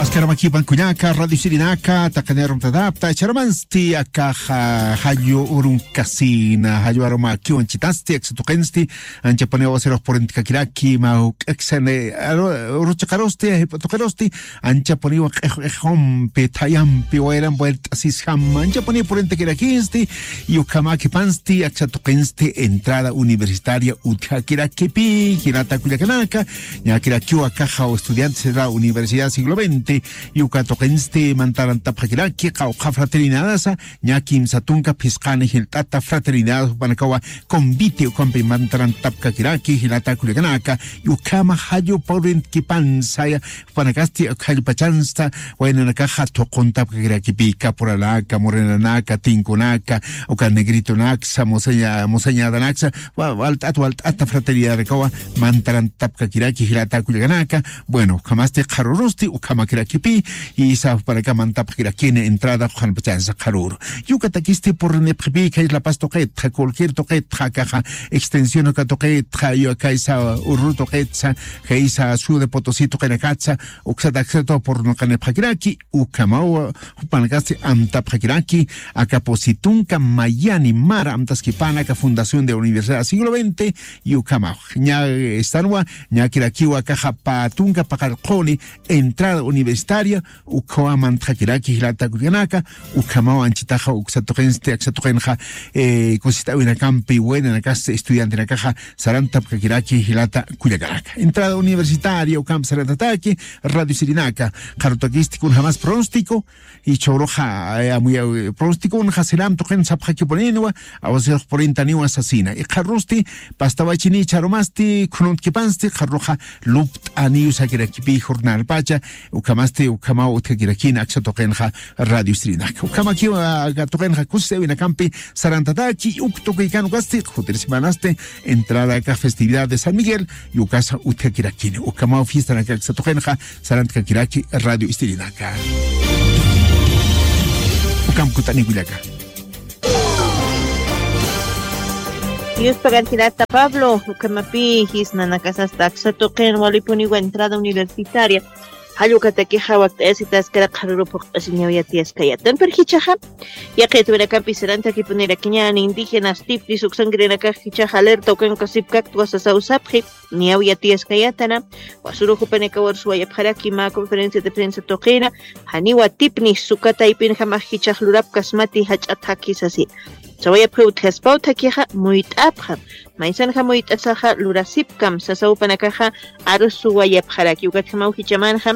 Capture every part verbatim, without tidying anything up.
Askaramakïpan kullaka, radio sirinaka, taqinirumtatapta, charumansti akaxa, jallu urunkasina, jallu arumakiw anchitasti, aksa tuqinsti, anchapuniw asirux purintkakiraki, mä juk'aksani, aru-, uruchiqarusti, jip'u tuqirusti, anchapuniw q'ix-, q'ixumpi, thayampi, wayram puert'asisjam, anchapuniw purintakirakisti, y ukhamakipansti, aksa tuqinsti, entrada universitaria utjakirakipi, jilata kullakanaka, ñakirakiw akaxa estudiantes de la Universidad Siglo veinte, y uka tuqinsti mantarantapxakiraki, qawqha fraternidadasa, ña kimsa tunka phisqani jilt'ata fraternidad jupanakawa convite ukampi mantarantapkakiraki, jilata kullakanaka, y ukhama jallu purintakipansa, jupanakasti jallu pachansa, waynanakaxa thuquntapkakirakipi, caporalanaka, morenanaka, tinkunaka, uka negritonaksa, moseña-, moseñadanaksa, wa-, walt'at, walt'ata fraternidadanakawa mantarantapkakiraki, jilata kullakanaka. Bueno, ukhamasti qharurusti, ukhamakirakipi, y isa jupanaka mantapkakirakini entrada, qhanpachansa qharuru. Y ukatakisti purinipxipi, khaysa La Paz tuqitxa, cualquier tuqitxa, akaxa, extensión uka tuqitxa, y akaysa Ururu tuqitsa, khaysa Ciudad de Potosí tuqinakatsa, uksat aksatu purinuqanipxakiraki, ukhamaw, jupanakasti antapxakiraki, aka pusi tunka mayani mara amtaskipana aka Fundación de Universidad Siglo veinte, y ukhamaw. Ña, eh, estanwa, ñakirakiwa akaxa pä tunka paqallquni, entrada universitaria, ukhawa mantxakiraki jilata kullakanaka, ukhamaw anchitaxa uksa tuqinsti, aksa tuqinxa, eh, kusist'awinakampi, waynanakas estudiantenakaxa, sarantapkakiraki jilata kullakanaka. Entrada universitaria, ukampi sarantataki, radio sirinaka, qharutakisti kunjamas pronóstico, y chhuruxa, eh, amuya, eh, pronóstico, unxa siram tuqin sapxakipuninwa, awasirux purintaniwa sasina. Y qharusti, pastawachini charumasti, khununtakipansti, qharuxa lupt'aniw sakirakipi jornalpacha, ukhamasti, ukhamaw utjakirakina, aksa tuqinxa radio sirinaka. Ukhamakiwa, aka tuqinxa kusisawinakampi, sarantataki, uk tukuy kanukasti, jutiri semanasti, entrada aka festividad de San Miguel, y ukasa utjakirakini. Ukhamaw fiesta naka aksa tuqinxa, sarantkakiraki radio istirinaka. Ukham kut'ani kullaka. Dios pagan jilata Pablo, ukhamapi jisnanakasasta aksa tuqin walipuniwa entrada universitaria. Jall ukatakixa wakt'ayasitaskara qharuru phuqt'asiñaw yatiyaskayatan. Pero jichhaxa, yaqitwinakampi sarantakipunirakiñäni indígenas tipnis uksankirinakax jichhaxa alerta ukankasipkaktwa sasaw sapxi. Niyaw yatiyaskayatana, wasuru jupanakawarus wayapxaraki mä conferencia de prensa tuqina, janiwa tipnis suka taypinjamax jichhax lurapkasmati jach'a thakhi sasi. Sawayapxi utjaspaw thakhixa muyt'apxam, maysanxa muyt'asaxa lurasipkam, sasa jupanakaxa arus wayapxaraki, ukatjamaw jichhamanxa,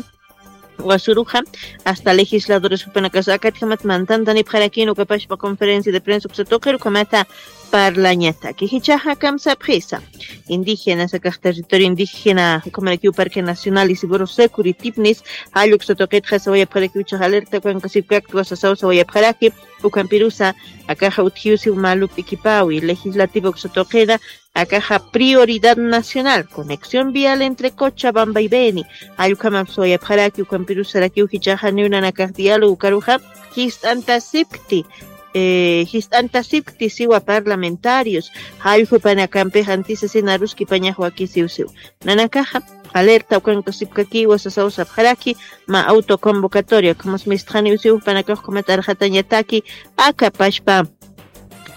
wasuruxa, hasta legisladores jupanakasa akatjamat mantantanipxarakïn, ukapachpa conferencia de prensa uksa tuqir ukhamata parlañataki. Jichhaxa kamsapxisa. Indígenas, akax territorio indígena, ukhamarakiw Parque Nacional Isidoro Securi tipnis, jall uksa tuqitxa sawayapxarakiw jichhax alerta ukankasipkaktwa sasaw sawayapxaraki, ukampirusa, akaxa utjiw siw mä lup'ikipäwi, legislativa uksa tuqina, akaxa prioridad nacional, conexión vial entre Cochabamba y Beni, jall ukhamap sawayapxaraki, ukampirusarakiw jichhaxa niw nanakax diálogo ukaruxa, jist'antasipkti, eh, jist'antasipkti siwa parlamentarios, jall jupanakampixa antisasina arus kipañax wakisiw siw. Nanakaxa, alerta ukankasipkakiwa sasaw sapxaraki, mä autoconvocatoria, ukhamas mistxaniw siw jupanakax ukhamat arxatañataki, aka pachpa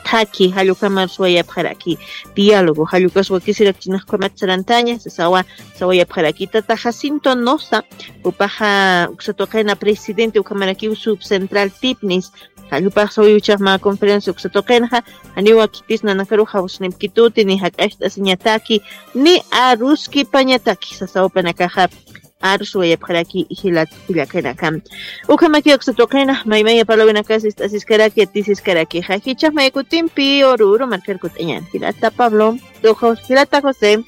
thakhi, jall ukhamarus wayapxaraki, diálogo, jall ukas wakisirak chinax ukhamat sarantaña, sasawa, sawayapxaraki. Tata Jacinto Nosa, jupaxa uksa tuqina presidente ukhamarakiw subcentral tipnis, jall jupax sawiw jichhax mä conferencia uksa tuqinxa, janiwa khitis nanakarux jawsnipkituti, ni jak'acht'asiñataki, ni arus kipañataki, sasa jupanakaxa, arus wayapxaraki jilat kullakanaka. Ukhamaki uksa tuqina, maymaya parlawinakas ist'asiskaraki, yatisiskarakixa. Jichhax maya kutimpi, Oruro markar kut'añäni. Jilata Pablo, tuqu, jilata José.